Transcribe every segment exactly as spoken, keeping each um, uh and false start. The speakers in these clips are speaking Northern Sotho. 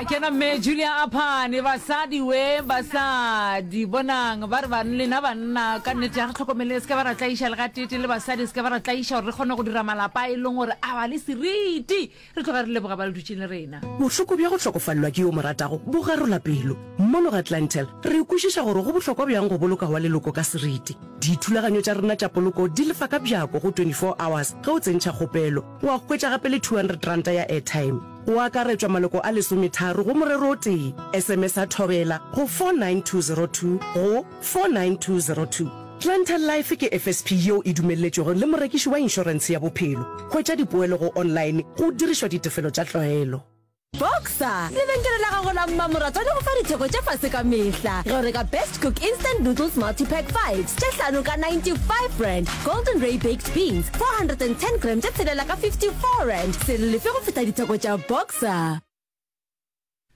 Kena mme Julia Aphane, basadi we, basadi, bonang, ba re ba lena banna, ka nnete ya re tlhokomele, se ka ba ra tlaiša le gatete, le basadi se ka ba ra tlaiša gore re kgone go dira malapa e leng gore a ba le seriti. Re tloga re leboga ba le dutšeng le rena. Bohloko bja go hlokofalelwa ke yo mo ratago bo garola pelo. Mono ga Clientele, re kwešiša gore go bohlokwa bjang go boloka wa leloko ka seriti. Dithulaganyo tša rena tša poloko di lefa ka bjako go twenty-four hours ge o tsentšha kgopelo, wa hwetša gape le two hundred ranta ya airtime. Go akaretšwa maloko a lesometharo go morero o tee. S M S a Thobela go four nine two zero two go four nine two zero two. Clientele Life ke F S P yeo e dumelletšwego le morekiši wa inšorentshe ya bophelo. Hwetša dipoelo go online go dirišwa ditefelo tša tlwaelo. Boxer, lebenkele la gago la mmamoratwa le go fa ditheko tša fase ka mehla. Ge o reka Best Cook Instant Noodles Multipack fives tše hlano ka ninety-five rand, Golden Ray Baked Beans four hundred and ten gram tše tshelela ka fifty-four rand, se le lefe go feta ditheko tša Boxer.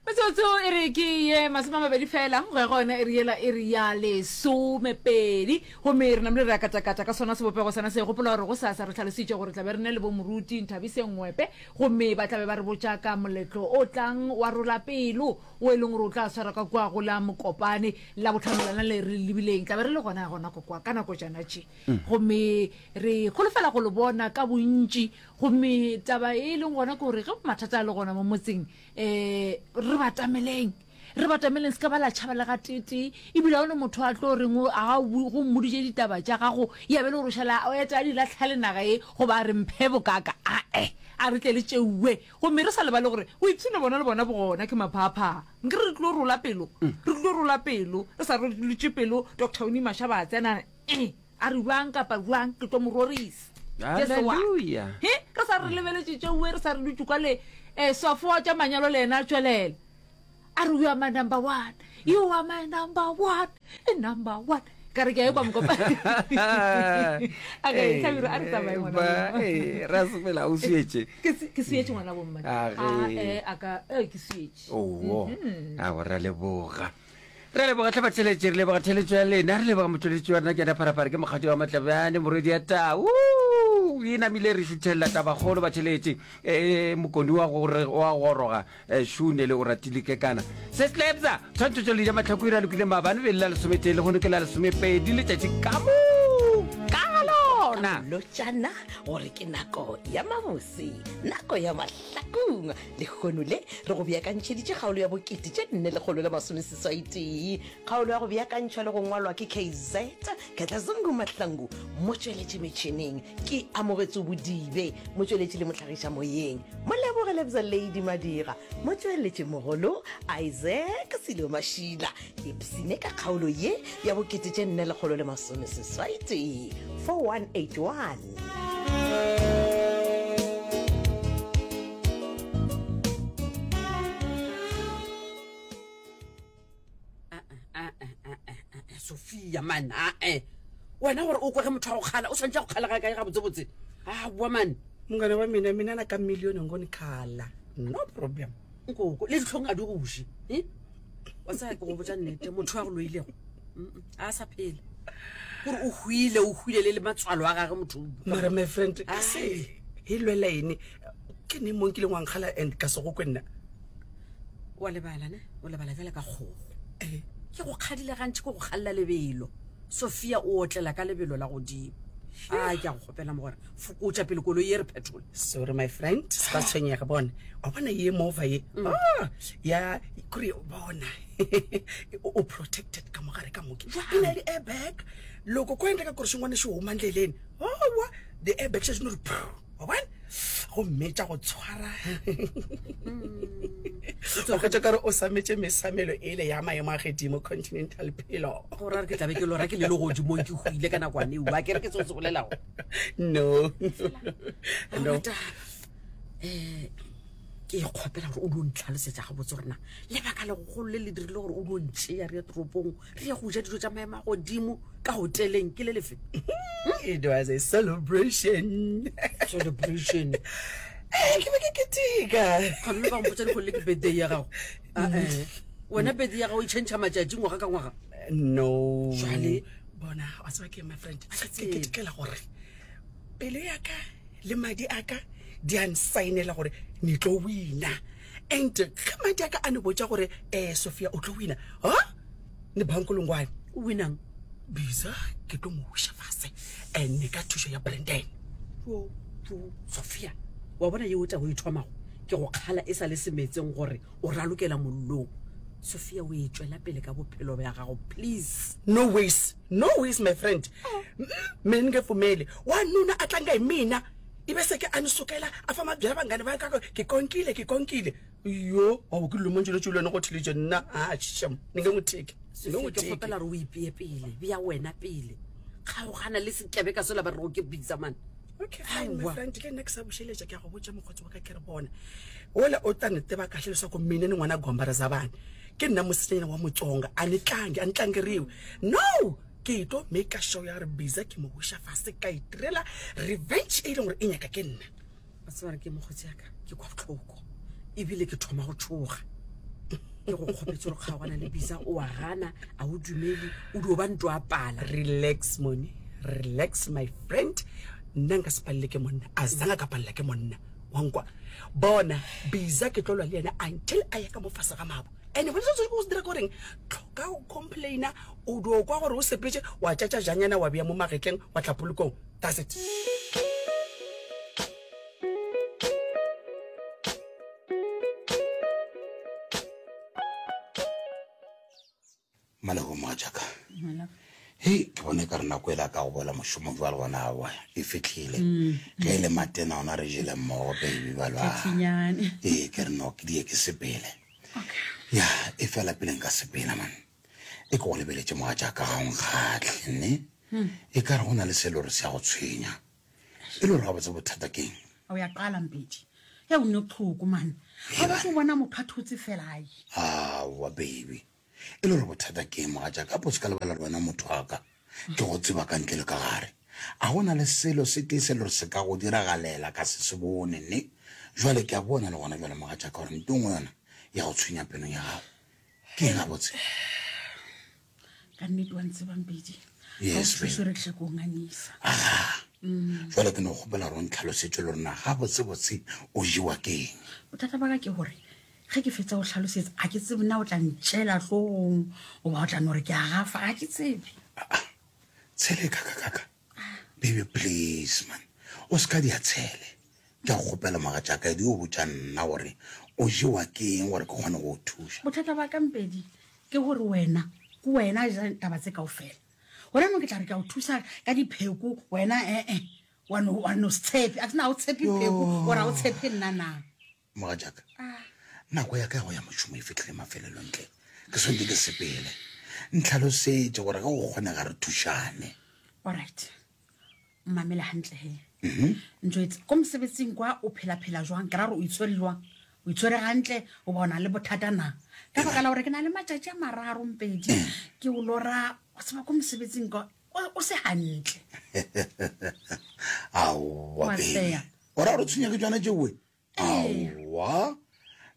Metsotso e re ke ye masome a mabedi fela go ya go yona e re yela e re ya lesomepedi, gomme re namile re ya katakata ka sona sebopego sona se. Gopola gore go sasa re hlalositše gore tla be re ne le bo moruti Nthabiseng Ngwepe, gomme ba tla be ba re botša ka moletlo o tlang wa rola pelo o e leng gore o tla swara ka kua go la Mokopane la botlhano lona le re lebileng. Tla be re le gona gona ko kwa ka nako tšana tše, gomme re holofela go le bona ka bontši. Gomme taba e leng gona ke gore ge mathata a le gona mo motseng, eh, re batameleng, re batameleng, se ka ba la tšhaba le gatetee. Ebile ga one motho a tlo reng o, a o, go mmoditše ditaba tša gago, ya be le gore o šala o eta a di lahla le naga e, goba a re mphe bokaka. Ae, a re tle le tšeuwe. Gomme re sa lebale gore o ipshine bona le bona bogona ke maphaaphaa. Nke re tlo rola pelo, re tlo rola pelo, re sa rolotše pelo. Doctor Winnie Mashaba a tsena, eh, a re bjang kapa bjang, ke tlo mo rorisa. Jesu wa. Hallelujah. He, re sa re lebeletše tšeuwe, re sa re dutše kwa le, eh, swafo wa tša manyalo le yena a tšwelela. A re, you are my number one, you are my number one, number one. Ka re ke a e kwa mokopa. A re, Eh, Hlabirwa, a re tsamaye ngwana ba, bo mma. eh, ra sepela, o swietše. Ke se-, ke swietše ngwana bo mma. A ge. A, eh, a ka, eh, ke swietše. Oo, Mm-hmm. a go ra leboga. Re leboga tlhe batheletše, re leboga theletšo ya lena, re leboga motšweletši wa rena ke yena Pharapara, ke mokgadi wa Matlabjane, morwedi ya Tau. E namile re šuthelela tabakgolo batheletše. Eh, mokoni wa gore, wa goroga, eh, šune le o ratile kekana. Se slepsa, tshwantšho tšo le ja mahlako ira lokile maabane be le la lesometee, lehono ke la lesomepedi, letšatši ka moka ga lona. Lotšana gore ke nako ya mabose, nako ya mahlakong. Lehono le re go beakantšheditše kgaolo ya bokete tše nne lekgolo le masomeseswai tee. Kgaolo ya go beakantšhwa le go ngwalwa ke K Z Katlazungu Mahlangu, motšweletši metšhineng ke Amogetswe Bodibe, motšweletši le mohlagiša moyeng Moleboge Lebza Lady Madira, motšweletši mogolo Isaac Silo Mašila. Ipsine ka kgaolo ye ya bokete tše nne lekgolo le masomeseswai tee, four one eight one. Sophia man, a eh. Wena gore o kwe ge motho a go kgala, o tshwanetse go kgala ga kae gabotsebotse? A bua man. Mongane wa mina, mina na ka million ngo ni khala. No problem. Nkoko, le ditlhong a di go je. Eh? Wa tsaya ke go botša nnete, motho a go loilego. Mm-mm, a sa phela. Gore o hwile, o hwile le le matswalo a gagwe motho. Mara my friend, Ai. se e lwela ene. Ke neng mo nkileng wa nkgala and ka se go kwe nna? Wa lebala ne? O lebala bjale ka kgogo. Eh. Ke go kgadile gantši, ke go kgalla lebelo. Sophia o otlela ka lebelo la godimo. A ke a go kgopela mogwera, fokotša pele koloi e re petrol. Sorry my friend, se ka tshwenyega bona. Wa bona ye mova ye? Mm. Ah, ya kore bona. O, o protected ka mogare ka moke. Jwang? E na le airbag. Loko ko endleka gore xin'wana xi huma ndleleni. Owa, the airbag xa xi no ri phu. Wa bona? Gomme tša go tshwara. O hwetša kare o sametše mesamelo ele ya maemo a godimo, Continental Pillow. Go ra re ke tlabe ke lora ke le legodimong ke hwile ka nakwane eo. A ke re ke seo se bolelago? No. Ga No. ona taba. Eh, ke ikgopela gore o dio ntlhalosetša gabotse gore na lebaka legolo le le dirile gore o dio ntšea re ye toropong re ye go ja dijo tša maemo a godimo ka hoteleng ke le lefe? It was a celebration. Celebration. Eh, ke be ke keteka. Kgone le ba mpotša dikgolo le ke birthday ya gago. Ah, eh. Wena birthday ya gago e change matšatši ngwaga ka ngwaga? No. Jwale? Bona, wa tseba ke my friend. Ha ke Ke tsebe. ketekela gore pelo ya ka le madi a ka di a nsaenela gore ne tlo wina. And ge madi a ka a ne botša gore um Sophia o tlo wina, ha ne bankolongwane. O winang? Bisa ke tlo mo wiša fase and ka thušo ya Brandon. Jo, jo, Sophia, wa bona yeo taba o e thomago ke go kgala e sa le semetseng gore o ralokela mollong. Sophia, o e tšwela pele ka bophelo bja gago, please. No ways, no ways my friend. Mina ni nge pfumeli wanuna a tlanga hi mina ibe se ke a ni sukela a fa mabyala vanghani va ka ke konkile ke konkile. Yo, wa bo ke dilo montši le wena go theletše nna a shem ni nge n'wi thiki. Ni nge Sophia, n'wi ke thiki. kgopela gore o ipee pele, bea wena pele. Kgaogana le sekebeka sela ba rego ke Bisa man. Okay, fine, my Aowa. friend, le nna ke sa bušeletša ke a go botša mokgotsi wa ka ke re bona. Ola o tla ne tseba kahle leswaku mina ni n'wana gomba ra zabane. Ke nna mosetsanyana wa Motsonga, a ni tlangi, a ni tlangeriwi. No, ke tlo make sure ya gore Bisa ke mo wiša fase ka itirela revenge e leng gore e nyaka ke nna. Wa tseba gore ke mokgotsi ya ka, ke kwa bohloko ebile ke thoma go tšhoga. Ke go kgopetse gore kgaogana le Bisa, o a gana, a o dumele, o dio ba ntwa a pala. Relax moni, relax my friend. Nna nka se palele ke monna, a zanga ka palela ke monna. Wa nkwa. Bona Bisa ke tlo lwa le yena until a ya ka mo fase ga mabo. And bona se o se dira ke goreng, tlhoka go complaina, o dio kwa gore o sepetse, wa tšatša janyana wa bea mo magetleng, wa tla polokong. That's it. Malebo mogatšaka. Hei, ke bone ka re nako e la ka go boela mošomong jwale gona aowa e fihlile. Ge e le matena ona re jele mmogo baby ba lwa. Tšatšinyane. Ee, ke re no ke die ke sepele. Ya, e fela pele nka sepela man. E ke go lebeletše mogatšaka ga o nkgahle ne. E ka re go na le selo re se ya go tshwenya. E le gore gabotse bothata keng? O ya qala Mpedi. Ya o ne tlhoko man. Ga ba go bona motho a thotse fela ai. Aowa baby. E le gore bothata ke eng mogatšaka? Apo se ka lebala le wena motho wa ka. Ke go tseba ka ntle le ka gare. A go na le selo se tee se le gore se ka go diragalela ka se se bone ne. Jwale ke a bona le gona jwale mogatšaka gore nto nngwe yona ya go tshwenya pelong ya gago. Ke eng gabotse? Ka nnete wa ntseba Mpedi. Yes, Ga o thuse re tle ko nganyisa. Aga. Jwale ke no kgopela gore o ntlhalosetse le gore na gabotsebotse o jewa ke eng. Bothata ba ka ke gore ge ke fetsa go hlalosetsa a ke tsebe na o tla ntšela hlogong goba o tla no re ke a gafa, ga ke tsebe. Tshele kaka kaka. Baby please man. O se ka dia tshele. Ke a go kgopela mogatšaka e di o botša nna gore o jewa ke eng gore ke kgone go o thuša. Bothata ba ka Mpedi ke gore wena ke wena a jang taba tse kaofela. Gona nong ke tla re ke a o thusa ka dipheko wena ee wa no wa no se tshepe. A ke na o tshepe pheko ore ha o tshepe nna na. Mogatšaka, nako ya ka ya go ya mošomo e fihlile mafelelong tle. Ke swanetše ke sepele. Ntlhalosetse gore ge go kgonega re thušane. Alright. Mmamele hantle he. Njwetse ko mosebetsing kwa o phela-phela jwang? Ke ra gore o itshwere jwang? O itshwere hantle goba o na le bothata na? Ka baka la gore ke na le matšatši a mararo Mpedi ke o lora o tseba ko mosebetsing kwa o, o se hantle. Aowa, Wa baby. tseya. O ra gore o tshwenya ke tšona tšeoe? Aowa.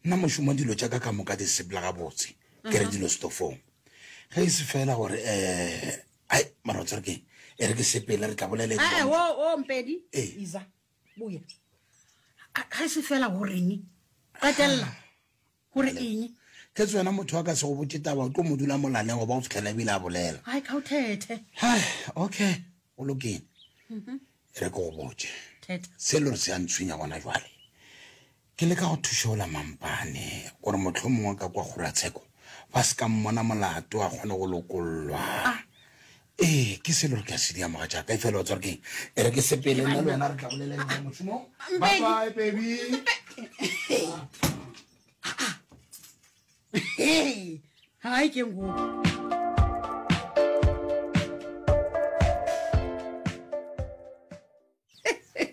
Nna mošomo dilo tša ka ka moka di sepela gabotse. Ke re dilo stofong. Ge e se fela gore eh ai mara o tsere keng? E re ke sepele re tla bolela Ee, dilo. o o Mpedi. Ee. Iza. Boya. Ga e se fela goreng? Qetella. Gore eng? Ke tswena motho wa ka se go botše taba o tlo mo dula molaleng goba go fitlhela ebile a bolela. Ai ka o thethe. Hai, okay, o lokile. E re ke go botše. Thethe. Se le gore se a ntshwenya gona jwale. Ke leka go thuša ola mampane gore mohlomongwe ka kwa kgoratsheko ba se ka mmona molato a kgone go lokollwa. Ee, ke se le gore ke a se dia mogatšaka e fela o tswa re keng? E re ke sepele nna le wena re tla bolela dilo mošomong. Bye bye baby. Hey, hai ke ngoku.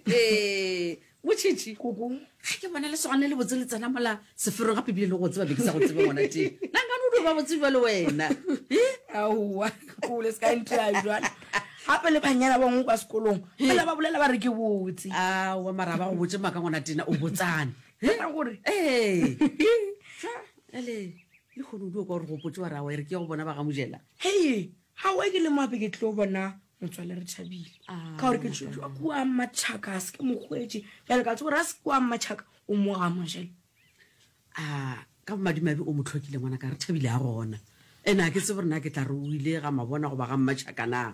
Ee, motšhitšhi. Koko. Ga ke bona lesogana le botse le tsena mola seferong gape ebile le go tseba be ke sa go tsebe ngwana teng. Nna nkane o dio ba botse jwale wena. Aowa, kole se ka ntia jwale. Gape le banyana ba bangwe kwa sekolong fela ba bolela ba re ke botse. Aowa, mara ba go botse maaka ngwana tena o botsane. Ka gore Ee. Jwale le kgone o dio kwa gore gopotse wa re aowa e re ke ya go bona ba ga mojela. Hei, ga oe ke le moape ke tlo bona motswale re thabile. Ka gore ke tšwa kua Mmatšhaka, a se ke mokgwetše. Bjale ka tseba gore a se kua Mmatšhaka o mo ga mojela. A ka bomadimabe o mo hlokile ngwana ka re thabile a gona. Ene a ke tsebe gore na ke tla re o ile ga mabona goba ga mmatšhaka na.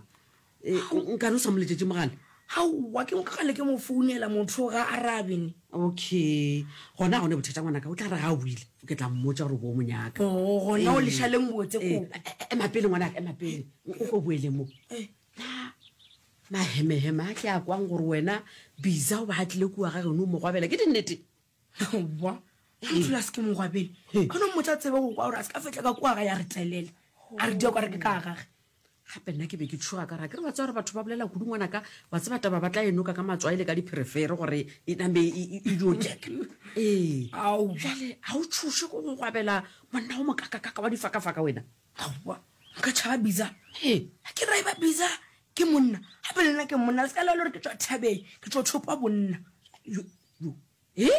E, nkane o sa mo letšetše mogala? Aowa, ke kgale ke mo founela motho ga a arabe ne. Okay, gona ga o ne bothata ngwanaka, o tla re ga a boile ke tla mmotša gore o bo o mo nyaka. Oh, gona o leša leng botse Ee, koko. ema pele ngwanaka, ema pele, o ko boele mo. Na mahemeheme a ke a kwang gore wena Biza o ba a tlile kua ga geno o mo gwabela, ke dinnete? Aowa, ga dula se ke mo gwabele. Ka no mmotša tsebe go kwa gore a se ka fihla ka kua ga ya re telela, a re dia o ka re ke ka gage. Gape nna ke be ke tšhoga ka ra ke re wa tseba gore batho ba bolela kudu ngwanaka, wa tseba taba ba tla e noka ka matswai le ka dipherefere gore e name e, e, e dio jeka. Ee. Aowa. Bjale ga o tšhoše ko go gwabela monna o mokakakaka wa difakafaka wena? Aowa, nka tšhaba Biza. Ee. Ga ke ra e ba Biza ke monna, gape le nna ke monna, le se ka lebala gore ke tšwa thabeng, ke tšwa thopa bonna. Yo, yo. E?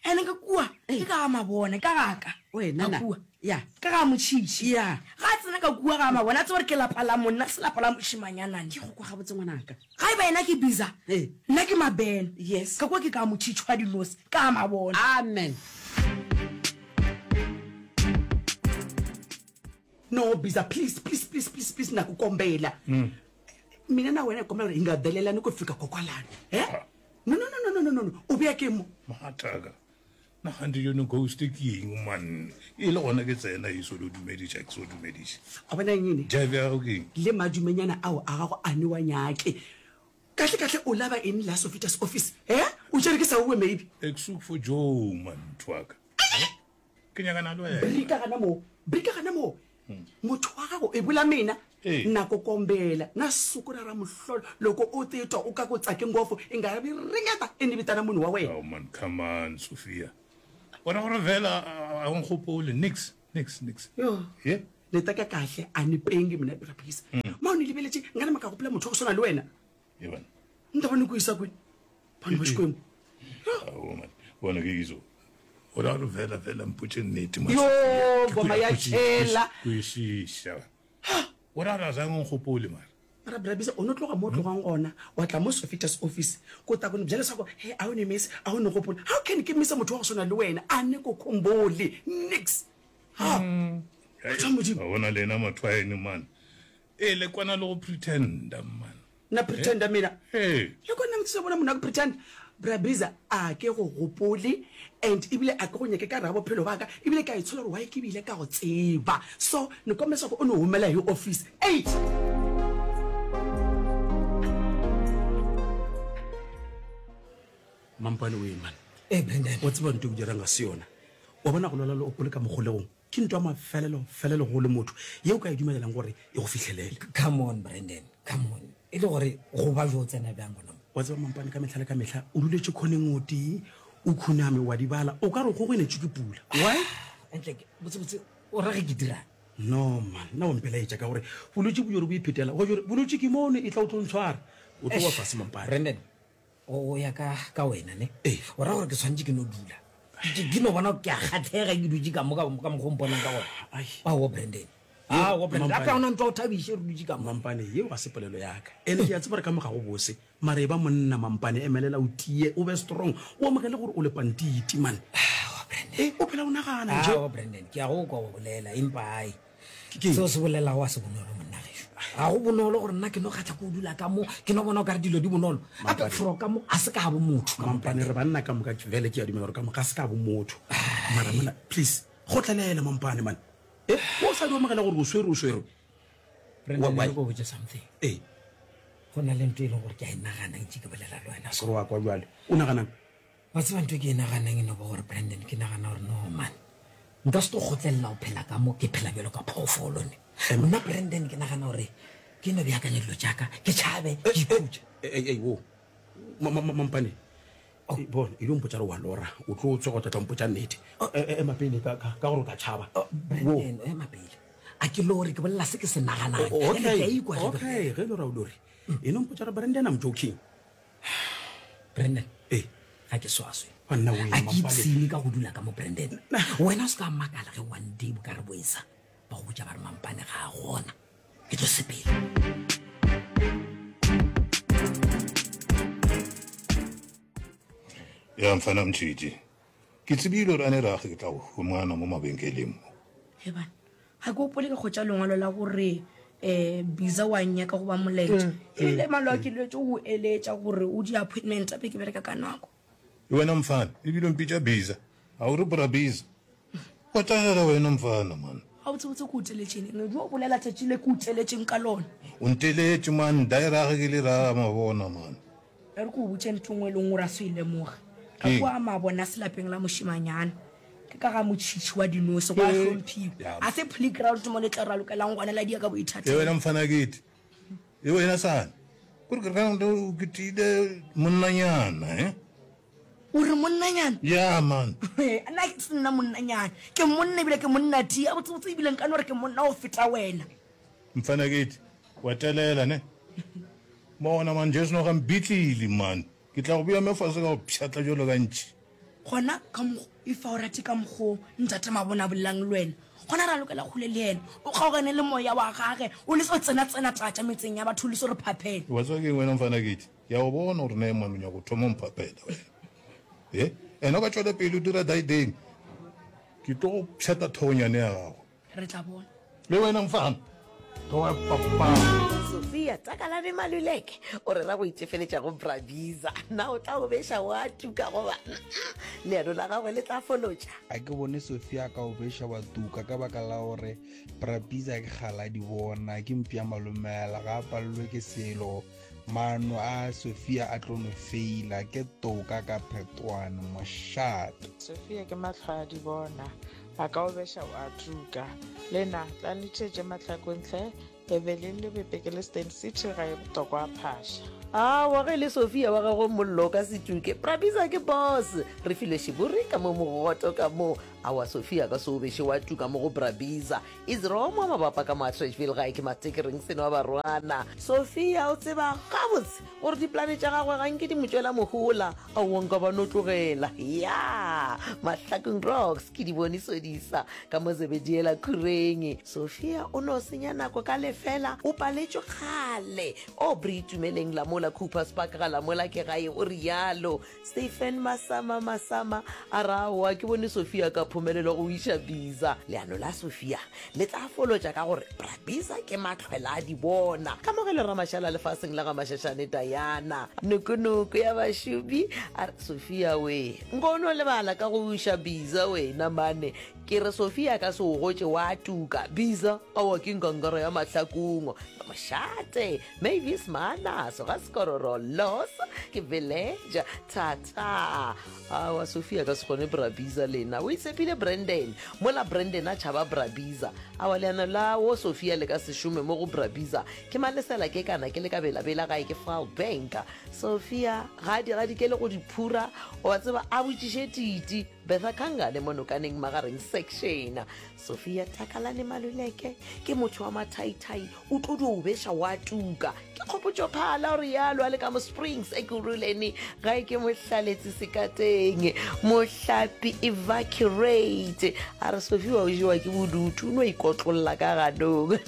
Ene ka kua, ke ka ga mabona, ka ga ka. Wena Ka na? kua. Ya. Ka ga motšhitšhi. Ya. Ga a tsena ka kua ga mabona, a tseba gore ke lapa la monna, se lapa la mošemanyanane. Ke go kwa gabotse ngwanaka. Ga e ba yena ke Biza, Ee. nna ke Mabene. Yes. Ka kua ke ka motšhitšhi wa dinose, ka ga mabona. Amen. No, Biza, please, please, please, please, please, na ku kombela. Mina na wena hi kombela gore hi nga delelani ku fika kokwalano. Eh? No, no, no, no, no, no, no. O beya ke mo. Mogataka, na gante yone ghost ke eng man? E le gona ke tsena e so lo dumediša, ke so dumediša. A bona eng ene? Jive ya gago ke eng? Le madumenyana ao a gago a ne wa nyake. Kahle kahle o laba eng la Sofitas office? Eh? O tšere ke sa uwe maybe. Ek soek for Joe man, motho wa ka. Ke nyakana le wena. Brika gana mo. Brika gana mo. Motho wa gago e bola mina. Ee. Nako kombela na suku ra ra mohlolo loko o titwa o ka ku tsake ngopfu i nga vi ringeta i ni vitana munhu wa wena. Oh man, come on Sophia. Wena gore vela a o nkgopole nix, nix, nix. Yo. Ye? Ni teka kahle a ni pengi mina Brabisa. Ma o ni lebeletše nka nama ka gopola motho wa go swana le wena. Ye bana. Ni ta va ni ku yisa kwini? Vanhu va Xikwembu. Oh man, bona ke izo. O ra gore vela vela mpotše nnete man. Yo, Sophia. Ke ngoma ku- ya ku- ku- tšhela. Kwešiša. O ra gore a zange o nkgopole mara. Mara Brabisa o no tloga mo o tlogang gona wa tla mo Sofitas office ko ta ko ni byela leswaku he a o ni miss a o ni gopola. How can ke missa motho wa go swana le wena a ne ko khombole nix. Ha. Batho ba Modimo. Wa bona le ena motho wa ene man. E le kwana le go pretenda man. Na pretenda mina. Ee. Le kona motho bona monna go pretend. Brabisa a ke go gopole and ebile a ke go nyake ka ra bophelo ba ka ebile ka itshola gore why ke bile ka go tseba. So ni kombela leswaku o ni humela hi office. Eight. Mampane o e man. Ee, Brandon. O tseba ntho e o dirang ga se yona. Wa bona go lwala le o le ka mogolegong ke ntho ya mafelelo felelo go le motho ye o ka e dumelelang gore e go fihlelele. Come on Brandon, come on. E le gore go ba jo tsena bjang gona mo? Wa tseba Mampane ka mehla le ka mehla o duletše khoneng o tee, o khuname wa di bala, o ka re go go enetšwe ke pula. Why? Entle ke botse botse o ra ge ke dirang? No man, nna o mpelaetša ka gore bolwetši bo jore bo iphetela. Go jore bolwetši ke mono e tla o tlo ntshwara. O tlo wa fase Mampane. Brandon, o ya ka ka wena ne? Ee. O ra gore ke tshwanetse ke no dula. Ke ke no bona ke a kgatlhega ke dutše ka mo ka ka mokgwa o mponang ka gona. Ai. Aowa Brandon. Aowa Brandon, gape Mampane. ga ona ntho ya go thabiše re dutše ka mo. Mampane, yeo ga se polelo ya ka. Ene ke a tseba gore ka mo ga go bose. Mara e ba monna Mampane, emelela o tie, o be strong, o amogele gore o le pantiti man. Aowa Brandon. E, o phela o nagana nje. Aowa Brandon, ke a go kwa o bolela empa ai. Ke eng? Seo se bolelago a se bonolo monna gešo. Ga go bonolo gore nna ke no kgatha ko o dula ka mo, ke no bona o ka re dilo di bonolo. Gape Mampane. fro ka mo a se ka bo motho ka mo Mampane, re banna ka moka vele ke a dumela gore ka mo ga se ka bo motho. Mara monna, please, kgotlelela Mampane man. E, o sa di amogela gore o swere o swerwe. Brandon, Why? e re ko botše something. Ee. Go na le ntho e leng gore ke a e nagana ntše ke bolela le wena so. Gore wa kwa bjale. O naganang? Wa tseba ntho e ke e naganang e no ba gore Brandon, ke nagana gore no man. Nka se tlo kgotlelela go phela ka mo ke phela bjalo ka phoofolo ne. Nna Brandon ke nagana gore ke no beakanya dilo tša ka, ke tšhabe, ke ikhutše. Ei, ei, wo. Ma, ma, ma, Mampane. Oh. Bona, e dio mpotša gore wa lora, o tlo tsoga o tla tla mpotša nnete. E, e, ema pele ka, ka, ka gore o tla tšhaba. Oh, Brandon, ema pele. A ke lore, ke bolela se ke se naganang. Oh, Ene ke a okay, ikwa ge ke okay, ge e le gore ha o lore. E no mpotša gore Brandon, I'm joking. Brandon, Ee. ga ke swaswe. Banna wena, A ke Mampane. ipshine ka go dula ka mo Brandon. Wena o se ka makala ge one day bo ka re boesa. Ba go botša ba re Mampane ga a gona. Ke tlo sepela. Ya mfana mtshiti. Ke tsebile gore a ne rage ke tla go humana mo mabenkeleng mo. Hebana, ga ke gopole ke hwetša lengwalo la gore um Biza wa nnyaka goba molaetša. Ebile maloa ke lwetše go eletša gore o di-appointment tša be ke bereka ka nako. E wena mfana, ebile o mpitša Biza. A o re Bra Biza? Wa tlagela wena mfana man. Gabotsebotse ke o teletšeng eng? Edu o bolela tšatši le ke o teletšeng ka lona. O nteletše man, daerage ke le ra mabona man. E re ke o botše ntho nngwe e leng gore a se e lemoge. Ka Keng? kua mabona se lapeng la mošemanyana. Ke ka ga motšhitšhi wa dinose, gwa hlomphiwa. A se playground mo le tla ralokelang gona la dia ka E boithatelo. wena mfana kete. E wena sane. Kore ke re o ke tiile monnanyana, eh? O re monnanyana? Ya man. Nna ke se nna monnanyana. Ke monna ebile ke monna tia. Botsebotse ebile nka no re ke monna go feta wena. Mfana kete, wa telela ne? Bona man, Jesu no ga mbitlile man. Ke tla go bea me fase ka go pšhatla bjalo ka ntšhi. Gona ka mokgo, if a o rate ka mokgo Ntate Mabona a bolelang le wena, gona ra lokela kgole le yena. O kgaogane le moya wa gage, o lese go tsena-tsena tša metseng ya batho, o lese go re phaphela. Wa tseba keng wena mfana kete? Ke a go bona gore ne man o nyaka go thoma o mphaphela wena. E, ena o ka tšwela pele o dira daideng, ke tlo go pšhatla thogonyane ya gago. Re tla bona. Le wena mfana. Tloga papa. Sophia Takalane Maluleke o rera go itefeletša go Bra Bizza. Na o tla o beša wa tuka goba leano la gagwe le tla folotša? A ke bone Sophia a ka o beša wa tuka ka baka la gore Bra Bizza ke kgale a di bona, ke mpša malomela, ga a palelwe ke selo. Maano a Sophia a tlo no feila, ke toka ka phetwane, mošate. Sophia ke mahlo a di bona, a ka o beša wa tuka. Lena, tlang le theetše mahlakong hle, Evelyn Lebepe ke le Steyn City ga e botokwa phasha. Aowa, ge e le Sophia wa gagwe mollo o ka se tuke. Bra Bizza ke boss. Re filwe šiburi ka mo mogoto ka mo. Aowa, Sophia a ka se o beše wa tuka mo go Bra Bizza. Izromo mabapa ka mo Atteridgeville gae ke Matekereng seno wa barwana. Sophia o tseba gabotse gore dipolane tša gagwe ga nke di mo tšwela mohola. Aowa nka ba no tlogela. Ya! Mahlakong Rocks ke di bone sodisa ka mo Zebediela Khureng. Sophia o no senya nako ka lefela, o paletšwe kgale. Aubrey Itumeleng Lamola Coopers Park ga Lamola ke gae, o realo. Stephen Masama Masama a re aowa ke bone Sophia ka phomelelo go iša Bizza. Leano la Sophia le tla folotša ka gore Bra Bizza ke mahlwela a di bona. Kamogelo Ramašala lefaseng la ga Mašašane Diana. Nokonoko ya bašomi a re Sophia we nko o no lebala ka go iša Bizza wena mane. Ke re Sophia a ka se o gotše wa tuka. Bizza aowa ke nkankara ya mahlakong. Mošate Mavis Maanaso ga Sekororo Los ke village thata. Aowa Sophia ka se kgone Bra Bizza lena. O itshepile Brandon mola Brandon a tšhaba Bra Bizza. Aowa leano la wo Sophia le ka se šome mo go Bra Bizza. Ke malesela ke kana ke le ka belabela gae ke File Bank. Sophia ga a di gadikele go di phura wa tseba a botšiše Titi. Bertha Kangane mo Nokaneng Magareng Section. Sophia Takalane Maluleke ke motho wa mathaithai, o tlo dio beša wa tuka. Ke Kgopotšo Phala o realo a le ka mo Springs Ekurhuleni gae ke Mohlaletsi Sekateng. Mohlapi evacuate a re Sophia o jewa ke bodutu o no ikotlolla ka ganong.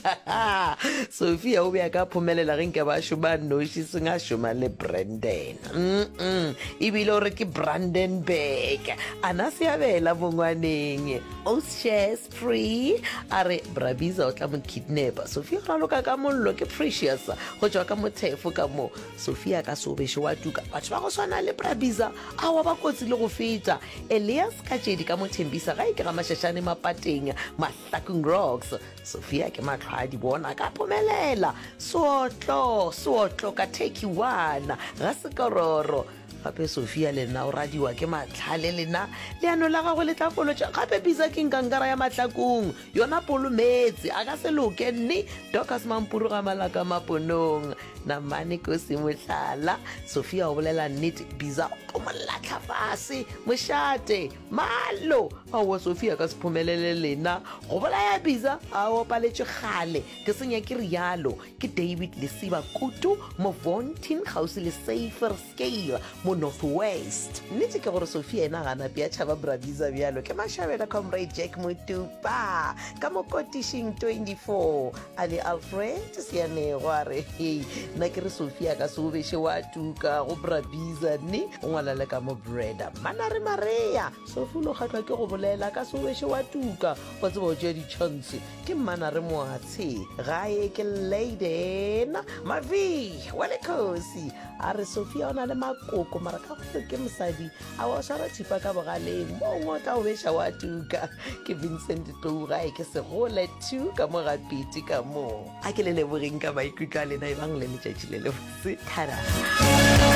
Sophia o be a ka phomelela ge nke ba šoma noši seng a šoma le Brandon. Mm-mm. Ebile o re ke Brandenburg. Ana seabela mongwaneng. O shares free a re Bra Bizza o tla mo kidnapa. Sophia o raloka ka mollo ke Precious go tšwa ka mothefo ka mo. Sophia ka sobešo wa tuka. Batho ba go swana le Bra Bizza awa ba kotsi le go feta. Elias Katšedi ka mothembisa ga e ke ga Mašašane Mapateng Mahlakung Rocks. Sophia ke mahlo a di bona ka phomelela. Seotlo, seotlo ka Turkey one ga sekororo. Gape Sophia le nna o radiwa ke mahlale lena. Leano la gagwe le tla folotša. Gape Bizza ke nkankara ya mahlakong. Yona polo meetse a ka se loke nne. Dorcas Mampuru ga Malaka Maponong. Namane Kosi mohlala. Sophia o bolela nnete. Bizza o tlo mo lahla fase. Mošate. Malo. Aowa Sophia ka se phomelele lena. Go bolaya Bizza a o paletšwe kgale. Ke senya ke rialo. Ke David Lesiba Kutu mo Vontin kgauswi le Safer Scale. mo North West. Nnete ke gore Sophia yena ga a nape a tšhaba Bra Bizza bjalo ke mašabela Comrade Jack Motupa ka mo kotišing twenty-four a le Alfred Seanego a re hei nna ke re Sophia ka se o beše wa tuka go Bra Bizza ne o ngwala le ka mo Breda Manare Marea Sophie o lo kgahlwa ke go bolela ka se o beše wa tuka wa tseba o tšea di-chance ke Mmanare Moatshe gae ke Leyden Mavi wa lekgosi a re Sophia o na le makoko mara ka gore ke mosadi a wa swara thipa ka bogaleng mo ngwe o tla o beša wa tuka ke Vincent Tlou gae ke segole two ka mo ga pete ka mo a ke le lebogeng ka maikutlo a lena e bang le letšatši le lebotse thara.